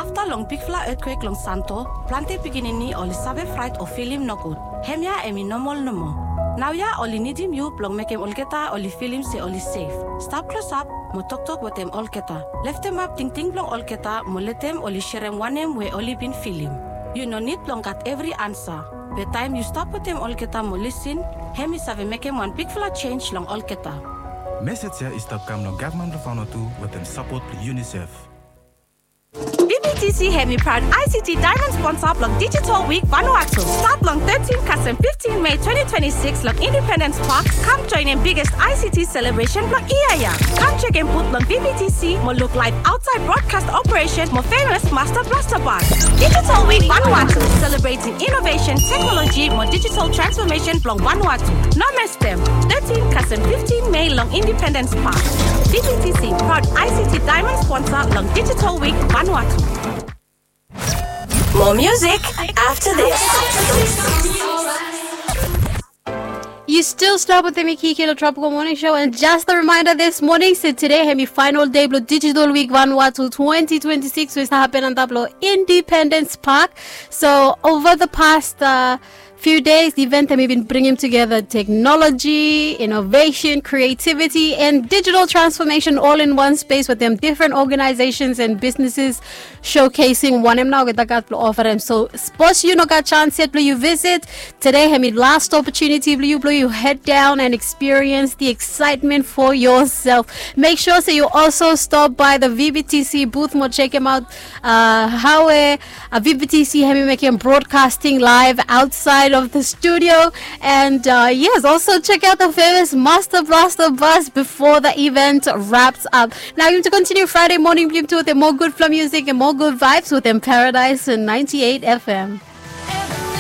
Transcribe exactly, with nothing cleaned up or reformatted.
Afta long bigfala etkwek long Santo, plante pikinini oli save fraet o filim nogud. Hemia hemi nomol nomo. Naoia oli nidim yu blong mekem olgeta oli filim se oli sef. Stap klosap mo toktok wetem olgeta. Leftemap tingting blong olgeta mo letem oli serem wanem we oli bin filim. Yu no nid blong gat evri ansa. Be taem yu stap wetem olgeta mo lisin, hemi save mekem wan bigfala jenj long olgeta. Mesej ya i stap kam long gavman blong Vanuatu wetem sapot blong UNICEF. VBTC hemi praod ICT diamond sponsor blong Digital Week Vanuatu. Stat long thirteen kasem fifteen Mei twenty twenty-six long Independence Park, kam joenem biggest ICT celebration blong yia ya. Kam jekem booth blong VBTC mo luk live outside broadcast operation mo famous Master Blaster Band. Digital Week Vanuatu, celebrating innovation, technology mo digital transformation blong Vanuatu. No miss dem, thirteen kasem fifteen Mei long Independence Park. VBTC, proud ICT diamond sponsor long Digital Week Vanuatu. More music after this. Yu stil stap wetem mi, Kiki, long Tropical Morning Show. And just a reminder this morning, se tede hemi final day blong Digital Week Vanuatu twenty twenty-six, we stap hapen antap long Independence Park. So over the past uh, few days, the event hemi bin bringim tugeta technology, innovation, creativity and digital transformation all in one space wetem different organizations and businesses showcasing wanem nao olgeta gat blong ofarem. So sapos yu no gat chance yet blong yu visit, tede hemi last opportunity blong yu blong yu head down and experience the excitement for yourself. Make sure se yu also stop by the VBTC booth mo jekem aot uh, hawe uh, VBTC hemi mekem broadcasting live outside of the studio. And uh, yes, also check out the famous Master Blaster bus before the event wraps up. Now, you to continue Friday morning blong yumi tu wetem more good flow music and more good vibes wetem Paradise and ninety-eight FM.